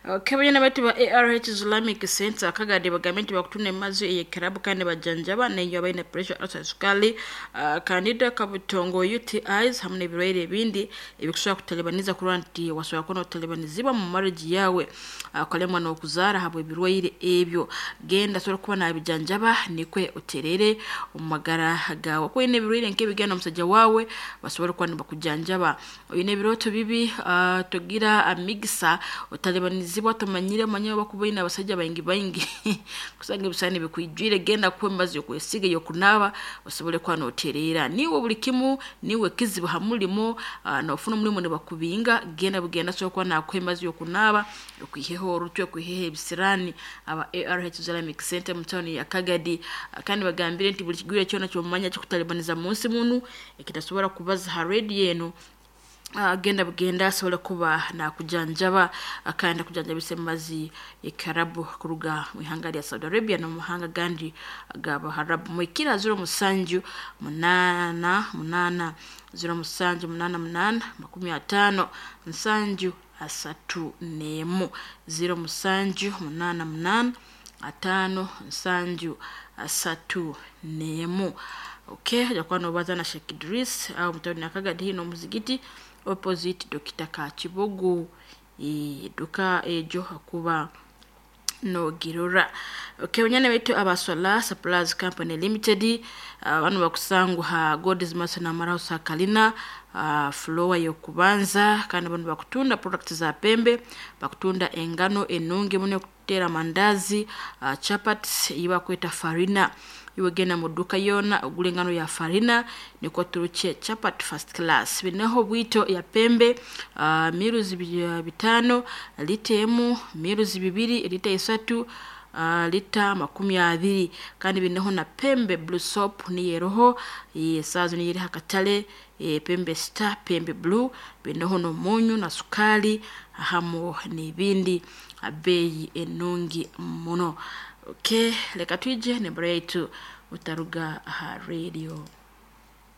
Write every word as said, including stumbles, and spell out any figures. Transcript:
Kebanya batu ba A R H Islamic Center Kagadi bagambe nti bakutunda emazi eyekerabu kandi bajanjaba neyo abaine pressure ulcer, sukali, uh, candida, kabutongo, U T Is hamu n'ebirwaire ebindi ebikusobola kutalibaniza kurora nti wasobola kuba notalibanizibwa mu marriage yawe, ukalemwa uh, n'okuzaara habw'ebirwaire ebyo. Genda asobola kuba nabijanjaba nikwe oterere omu magara gawe. Okwine ebirwaire nk'ebigenda omusajja wawe basobola kuba nibakujanjaba. Oyine ebirooto bibi, uh, togira amigisa otalibanizibwa tumanyire manye bakubaina abasajja baingi baingi kusanga ebisani bikwijwire. Genda kuwe mazi yokwesiga yokunaba osobole kuba noterera niwe buli kimu niwe kizibu hamulimo, uh, nofuna omulimo nibakubinga. Genda bugenda sobola kuba nakuha emazi yokunaba okwiheho orutwe okwiheho ebisirani. Aba A R H Islamic Center mu town ya Kagadi, uh, kandi bagambire nti buli kigwire kyona kyomanya kikutalibaniza munsi munu ekitasobora kubaza ha radio eno, agenda uh, bugenda asobola kuba nakujanjaba akanda kujanjabisa emazi ekarabu kuruga mu ihanga lya Saudi Arabia no muhanga gandi g'Abaharabu. Mwikira zero musanju munana munana zero musanju munana munana makumi atano nsanju asatu nemu zero musanju munana munana atano nsanju asatu nemu. Okay, jakuwa nobaza na Sheikh Idris au mtoni na Kagadi hino muzigiti opposite Dokita Kachibogu e, duka ejo hakuba no girora. Okay, wanyana wetu Abaswala Supplies Company Limited, uh, bakusangu ha God's Mercy na Marausa Kalina, uh, floor yokubanza kandi bano bakutunda products za pembe, bakutunda engano enungi mune kutera mandazi, uh, chapati iba kweta farina. Iwe genda mu duka yona ogule engano ya farina niko turuche chapati first class. Binaho bwito ya pembe, uh, miruzi bitano lita emu, miruzi bibiri lita isatu, uh, lita makumi abiri. Kandi binaho na pembe blue soap ni yeroho e, sazo ni yeri hakatale e, pembe star pembe blue binaho no munyu na sukali hamu n'ibindi abeyi enungi muno. Okay, leka tuje nembara yetu utaruga ha radio.